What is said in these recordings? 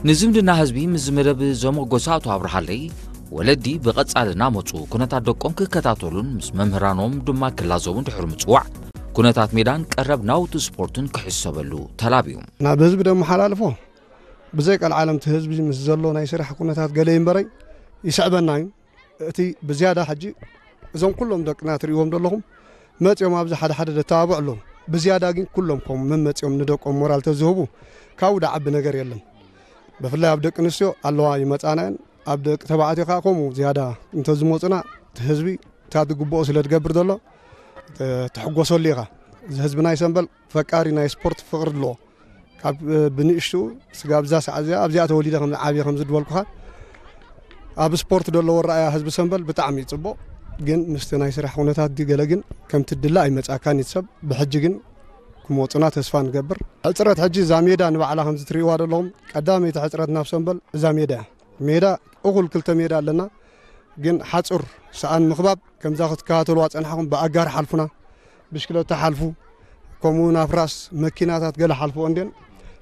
ንዝምድና ህዝቢ ምስ ዝመደብ ዘመጎሰ ኣቶ ኣብርሃለይ፣ ወለዲ ብቐጻሊ እናመጹ ኩነታት ደቆም ክከታተሉን ምስ መምህራኖም ድማ ክላዘቡን ድሕሪ ምጽዋዕ፣ ኩነታት ሜዳን ቀረብ ናውቲ ስፖርትን ክሕሰበሉ ተላብዩ። ናብ ህዝቢ ደመሓላልፎ፣ ብዘይ ቀልዓለም እቲ ህዝቢ ምስ ዘሎ ናይ ስራሕ ኩነታት ገለ ይንበረይ ይስዕበና እዩ። እቲ ብዝያዳ ሕጂ እዞም ኩሎም ደቅና ትርእይዎም ዘለኹም መጺኦም ኣብዚ ሓደ ሓደ ደተባብዑ ኣለዉ። ብዝያዳ ግን ኩሎም ከም መመጺኦም ንደቆም ሞራል ተዝህቡ ካብኡ ደዓቢ ነገር የለን። ብፍላይ ኣብ ደቂ ኣንስትዮ ኣለዋ ይመጻና እየን። ኣብ ደቂ ተባዕትዮ ከኣ ከምኡ ዝያዳ እንተዝመጹና እቲ ህዝቢ እታ ዝግብኦ ስለ ዝገብር ዘሎ ተ-፣ ትሕጎሰሉ ኢኻ። እዚ ህዝቢ ናይ ሰምበል ፈቃሪ ናይ ስፖርት ፍቕሪ ኣለዎ። ካብ፣ እ፣ ብንእሽቱ ስጋብ እዛ ሰዓት እዚኣ ኣብዚኣ ተወሊደ ከም ዓብየ ከም ዝድበልኩኻ ኣብ ስፖርት ዘለዎ ረኣያ ህዝቢ ሰምበል ብጣዕሚ እዩ ጽቡቕ። ግን ምስቲ ናይ ስራሕ ኩነታት ድዩ ገለ ግን ከምቲ ድላ ኣይመጻካን እዩ ሰብ። ብሕጂ ግን ክመጹና ተስፋ ንገብር። ሕጽረት ሕጂ እዛ ሜዳ ንባዕላ ከም ዝትርእይዋ ዘለኹም ቀዳመይቲ ሕጽረት ናብ ሰምበል እዛ ሜዳ እያ። ሜዳ እኹል ክልተ ሜዳ ኣለና። ግን ሓጹር ሰኣን ምኽባብ ከምዛ ክትከታተልዋ ጸንሓኹም ብኣጋር ሓልፉና፣ ብሽክለታ ሓልፉ፣ ከምኡ እውን ኣፍራስ መኪናታት ገለ ሓልፍኦ እንድየን።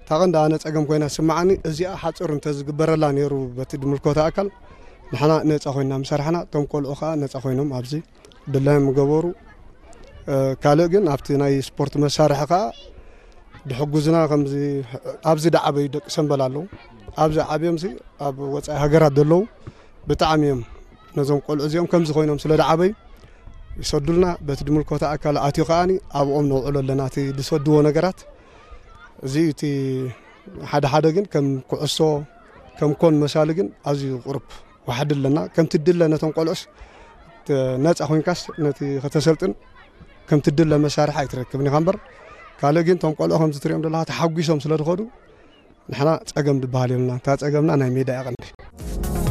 እታ ቀንዲ ኣነ ጸገም ኮይና ትስምዓኒ እዚኣ ሓጹር እንተዝግበረላ ነይሩ በቲ ድምልከቶ ኣካል ንሕና ነጻ ኮይና ምሰርሕና፣ እቶም ቆልዑ ከኣ ነጻ ኮይኖም ኣብዚ ድላዮም ምገበሩ። እ፣ ካልእ ግን ኣብቲ ናይ ስፖርት መሳርሒ ከኣ ድሕጉዝና ከምዚ ኣብዚ ደዓበዩ ደቂ ሰምበል ኣለዉ። ኣብዚ ዓብዮምሲ ኣብ ወጻኢ ሃገራት ዘለዉ ብጣዕሚ እዮም ነዞም ቆልዑ እዚኦም ከምዚ ኮይኖም ስለ ደዓበዩ ይሰዱልና። በቲ ድምልከቶ ኣካል ኣትዩ ከኣኒ ኣብኦም ነውዕሎ ኣለና እቲ ዝሰድዎ ነገራት። እዚ እቲ ሓደ ሓደ ግን ከም ኩዕሶ፣ ከም ኮን መሳሊ ግን ኣዝዩ ቁሩብ ዋሕዲ ኣለና። ከምቲ ድለ ነቶም ቆልዑስ ተ-፣ ነጻ ኮይንካስ ነቲ ከተሰልጥን ከምቲ ድለ መሳርሒ ኣይትረክብን ኢኻ እምበር፣ ካልእ ግን እቶም ቆልዑ ከምዚ ትሪኦም ዘለኻ ተሓጒሶም ስለ ዝኸዱ ንሕና ጸገም ዝበሃል የብልና። እታ ጸገምና ናይ ሜዳ እያ ቀንዲ።